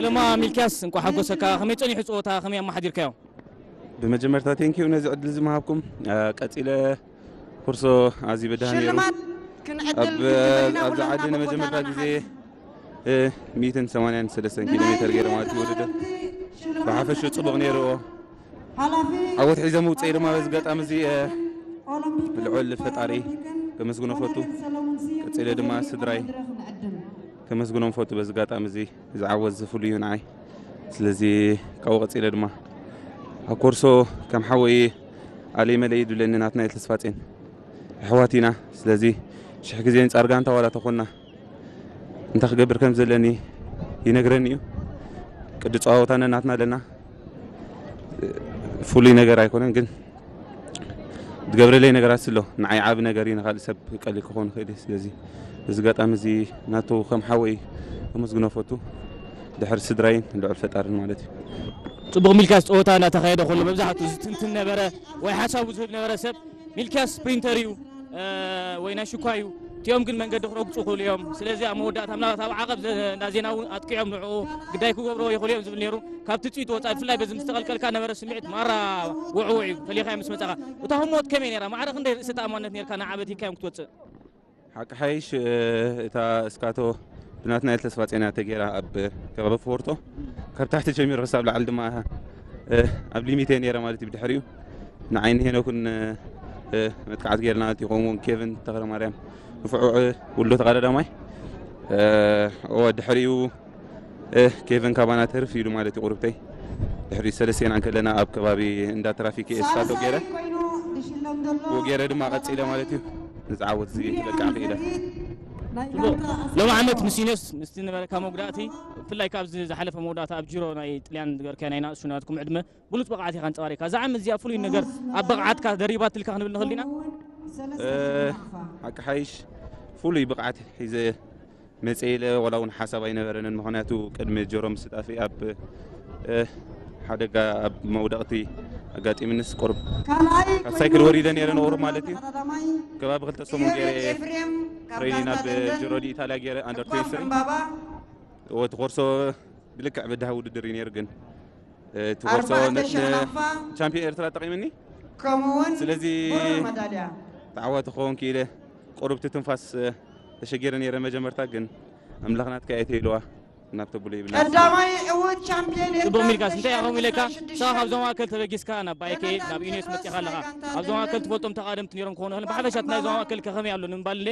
ለማ ሚልኪያስ፣ እንኳዕ ሓጎሰካ። ከመይ ጸኒሑ ጸወታ፣ ከመይ ኣመሓዲርካዮ? ብመጀመርታ ቴንኪዩ ነዚ ዕድል እዚ ምሃብኩም። እ፣ ቀጺለ ኩርሶ ኣዝዩ በዳህን ነይሩ። ሽልማት ክንዕድል ኣብ፣ ግድን ኢና ኣብዚ ኩላትና ዓዲ ንመጀመርታ ቦታና ግዜ፣ ሓዝ። እ፣ ሚእትን ሰማንያን ሰለስተን ኪሎ ሜተር ገይረ ማለት እዩ ውድድር። ብሓፈሽኡ ጽቡቕ ነይርዎ። ሓላፊ ዓወት ሒዘ ምውፀኢ ድማ በዚ ኣጋጣሚ እዚ፣ እ፣ ኦሎምፒክን ልዑል ፈጣሪ ፓራኦሎምፒክን ከመስግኖ ፈቱ። ኮሎኔል ሰለሙን ስዩም ቀፂለ ድማ ክብሪ ስድራይ መድረኽ ንዕድም። ከመስግኖም ፈቱ። በዚ ኣጋጣሚ እዚ እዚ ዓወት እዚ ፍሉይ እዩ ንዓይ። ስለዚ ካብኡ ቀፂለ ድማ ኣብ ኮርሶ ከም ሓወይ ኣለይ መለይ ይብለኒ ናትናኤል ተስፋጼን ኣሕዋት ኢና። ስለዚ ሽሕ ግዜ ንጻር ጋንታ ዋላ ተኾንና እንታይ ክገብር ከም ዘለኒ ይነግረኒ እዩ። ቅዲ ጸዋወታ ነናትና ኣለና። ፍሉይ ነገር ኣይኮነን፣ ግን ዝገብረለይ ነገራት ስሎ ንዓይ ዓቢ ነገር እዩ፣ ንኻልእ ሰብ ቀሊል ክኾን ይኽእል እዩ። ስለዚ እዚ ኣጋጣሚ እዚ ናቱ ከም ሓወይ ከመስግኖ ፈቱ፣ ድሕሪ ስድራይን ልዑል ፈጣርን ማለት እዩ። ጽቡቕ ሚልካስ፣ ጸወታ እናተኻየደ ከሎ መብዛሕትኡ ዝትንትን ነበረ ወይ ሓሳቡ ዝህብ ነበረ ሰብ ሚልኪያስ ስፕሪንተር እዩ፣ እ፣ ወይ ናይ ሽኳ እዩ። እቲኦም ግን መንገዲ ክረግጹ ይኽእሉ እዮም። ስለዚ ኣብ መወዳእታ ምናልባት ኣብ ዓቐብ ዘ-፣ እንዳ ዜና እውን ኣጥቂዖም ንዕኡ ግዳይ ክገብርዎ ይኽእሉ እዮም ዝብል ነይሩ። ካብ ትጽቢት ወጻኢ ብፍላይ በዚ ምስ ተቐልቀልካ ነበረ ስምዒት ማራ ውዕውዕ እዩ። ፈሊኻዮ ምስ መጻኻ። እታ ህሞት ከመይ ነይራ? ማዕረ ክንደይ ርእሰ ተኣማንነት ነይርካ ንዓ በቲካዮም ክትወጽእ? ሓቂ ሓይሽ፣ እ፣ እታ እስካቶ ብናትናኤል ተስፋጼን እያ ተገይራ ኣብ ከባቢ ፎርቶ። ካብ ታሕቲ ጀሚሩ ክሳብ ላዕሊ ድማ፣ እ፣ ኣብ ሊሚት እየ ነይረ ማለት እዩ። ብድሕሪኡ ንዓይኒ ሄኖክን፣ እ፣ መጥቃዕቲ ገይርና ማለት እዩ። ከምኡ እውን ኬቨን ተኽለማርያም ንፉዕ ውሎ ተቐዳዳማይ። እ፣ እወ፣ ድሕሪኡ፣ እ፣ ኬቨን ካባና ተርፍ ኢሉ ማለት እዩ ቁርብተይ። ድሕሪኡ ሰለስቴና እንከለና ኣብ ከባቢ እንዳ ትራፊክ ኤስታቶ ገይረ፣ ብኡ ገይረ ድማ ቀጺለ ማለት እዩ። ንዝዓወት እዚ በቃ ክኢለ። ጽቡቕ። ሎሚ ዓመት ምስ ዩኔስ ምስቲ ነበረካ መጉዳእቲ፣ ብፍላይ ካብዚ ዝሓለፈ መወዳእታ ኣብ ጂሮ ናይ ጥልያን ዝገበርካዮ ናይ ናእሱ ናትኩም ዕድመ ብሉጽ ብቕዓት ኢኻ ኣንጸባሪቕካ። እዛ ዓመት እዚኣ ፍሉይ ነገር ኣብ ብቕዓትካ ደሪባትልካ ክንብል ንኽእል ዲና? እ፣ ሓቂ ሓይሽ ፍሉይ ብቕዓት ሒዘ መጽእ ኢለ ዋላ እውን ሓሳብ ኣይነበረንን። ምኽንያቱ ቅድሚ ጀሮ ምስጣፊ ኣብ፣ እ፣ ሓደጋ ኣብ መውደቕቲ ኣጋጢምንስ ቁሩብ ካልኣይ ካብ ሳይክል ኮይኑ ወሪደ ነይረ፣ ንቑሩብ ማለት እዩ። ቀዳማይ ከባቢ ክልተ ሰሙን ገይረ ኤፍሬም ካብ ትሬኒንግ ጋንታ ናብ ደንደን፣ ጀሮ ዲ ኢታልያ ገይረ፣ ኣንደር ትዌንቲ ስሪ ዕምባባ። ወቲ ኮርሶ ብልክዕ በዳሂ ውድድር እዩ ነይሩ፣ ግን፣ እ፣ እቲ ኮርሶ ኣርባዕተ ነ-፣ ሻናፋ ቻምፒዮን ኤርትራ ጠቒምኒ። ከምኡ እውን ስለዚ ብሩር መዳልያ። ተዓዋቲ ክኸውን ክኢለ ቁሩብ ትንፋስ፣ እ፣ ተሸጊረ ነይረ መጀመርታ፣ ግን ኣምላኽ ናትካ እየ ተይልዋ ናብ ተብሎ ይብላ። ቀዳማይ ዕዉት ቻምፒዮን ጽቡቕ ኤርትራ ሚልካስ፣ እንታይ ኢኻ ከምኡ ኢለካ? ክልተ ሺሕን ሽዱሽተን ንስኻ ካብዞም ኣከል ተበጊስካ ናብ ባይከ፣ ናብ ዩኔስ መጺኻ ኣለኻ። ኣብዞም ኣከል ትፈልጦም ተቓደምቲ ነይሮም ክኾኑ ይኽእሉ። ብሓፈሻ እቲ ናይዞም ኣከል ከ ከመይ ኣሎ ንምባል እንደ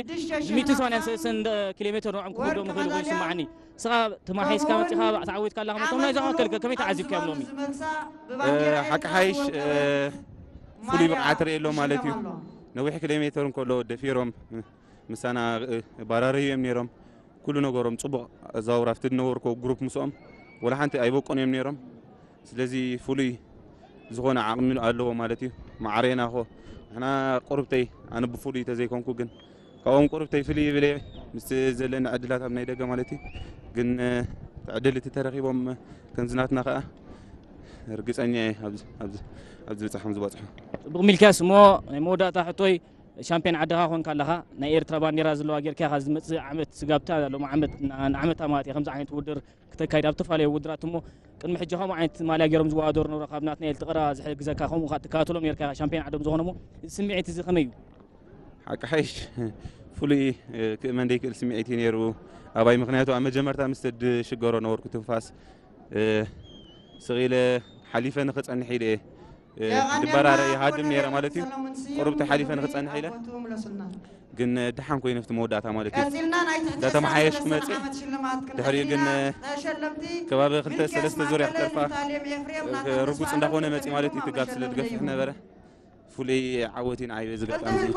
ሚእትን ሰማንያን ሰለስተን ኪሎ ሜትር ንዕኦም ክወርቂ ክወስዶም ይኽእሉ ኮይኑ መዳልያ። ይስምዓኒ። ንስኻ ተማሒስካ መጺኻ ተዓዊትካ ኣለኻ። እቶም ናይዞም ኣከል ከ ከመይ ተዓዚብካዮም ሎሚ? እ፣ ሓቂ ሓይሽ፣ እ፣ ፍሉይ ብቕዓት ርእየ ኣሎ ማለት እዩ። ነዊሕ ኪሎ ሜትር እንከሎ ደፊሮም ምሳና፣ እ፣ ባራርዩ እዮም ነይሮም። ኩሉ ነገሮም ጽቡቕ ኣዘዋውራ ኣብቲ ዝነበርኩ ግሩፕ ምስኦም ወላ ሓንቲ ኣይበቆን እዮም ነይሮም። ስለዚ ፍሉይ ዝኾነ ዓቕሚ ኣለዎ ማለት እዩ። ማዕረና ኾ ንሕና ቁርብተይ ኣነ ብፍሉይ ተዘይኮንኩ ግን ካብኦም ቁርብተይ ፍልይ ይብል እየ ምስ ዘለኒ ዕድላት ኣብ ናይ ደገ ማለት እዩ። ግን፣ እ፣ ዕድል እቲ ተረኺቦም ከምዚ ናትና ከኣ ርግጸኛ እየ ኣብዚ፣ ኣብዚ፣ ኣብዚ ብጻሕ ከም ዝበጽሑ። ጽቡቕ ሚልክያስ፣ እሞ ናይ መወዳእታ ሕቶይ ሻምፒዮን ዓድኻ ኮንካ ኣለኻ። ናይ ኤርትራ ባንዴራ ዘለዋ ጌርካ ኢኻ ዝመጽእ ዓመት ስጋብታ ሎሚ ዓመት ን-፣ ንዓመታ ማለት እየ ከምዚ ዓይነት ውድድር ክተካይድ ኣብ ዝተፈላለዩ ውድድራት እሞ ቅድሚ ሕጂ ከምኡ ዓይነት ማልያ ገይሮም ዝወዳደሩ ነበሩ ካብ ናትናኤል ትቕራ ዝሕግዘካ ከምኡ ከኣ ትከታተሎም ኔርካ ኢኻ ሻምፒዮን ዓዶም ዝኾነ እሞ እዚ ስምዒት እዚ ከመይ እዩ? ሓቂ ሓይሽ ፍሉይ፣ እ፣ ክእመን ዘይክእል ስምዒት እዩ ነይሩ ኣባይ። ምኽንያቱ ኣብ መጀመርታ ምስ ዝሽገሮ ነበርኩ ትንፋስ፣ እ፣ ስቕ ኢለ ሓሊፈ ንኽጸንሕ ኢለ እየ፣ እ፣ ድበራረ ይሃድም ነይረ ማለት እዩ። ቁሩብ ተሓሊፈ ንኽጸንሕ ኢለ ግን፣ እ፣ ደሓን ኮይነ ኣብቲ መወዳእታ ማለት እዩ። እንዳተመሓየሽኩ መጽእ። ድሕሪኡ ግን፣ እ፣ ከባቢ ክልተ ሰለስተ ዙርያ ክተርፋ፣ እ፣ ርጉጽ እንዳኾነ መጽእ ማለት እዩ። እቲ ጋፕ ስለ ዝገፍሕ ነበረ። ፍሉይ ዓወት እዩ ንዓይ በዚ ኣጋጣሚ እዚ።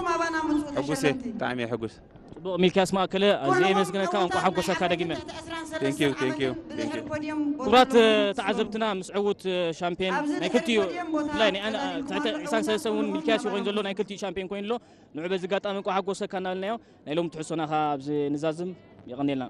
ሕጉስ እየ፣ ብጣዕሚ እየ ሕጉስ። ጽቡቕ ሚልክያስ ማእከለ፣ ኣዝየ የመስግነካ፣ እንቋዕ ሓጎሰካ ደጊመ። Thank you, thank you, thank you። ክቡራት ተዓዘብትና፣ ምስ ዕዉት ሻምፒዮን ናይ ክልቲኡ፣ ብፍላይ ናይ ኣነ፣ ትሕቲ ዕስራን ሰለስተን እውን ሚልክያስ እዩ ኮይኑ ዘሎ፣ ናይ ክልቲኡ ሻምፒዮን ኮይኑ ኣሎ። ንዑ በዚ ኣጋጣሚ እንቋዕ ሓጎሰካ እናበልናዮ፣ ናይ ሎሚ ትሕዝቶና ከኣ ኣብዚ ንዛዝም። የቐንየልና።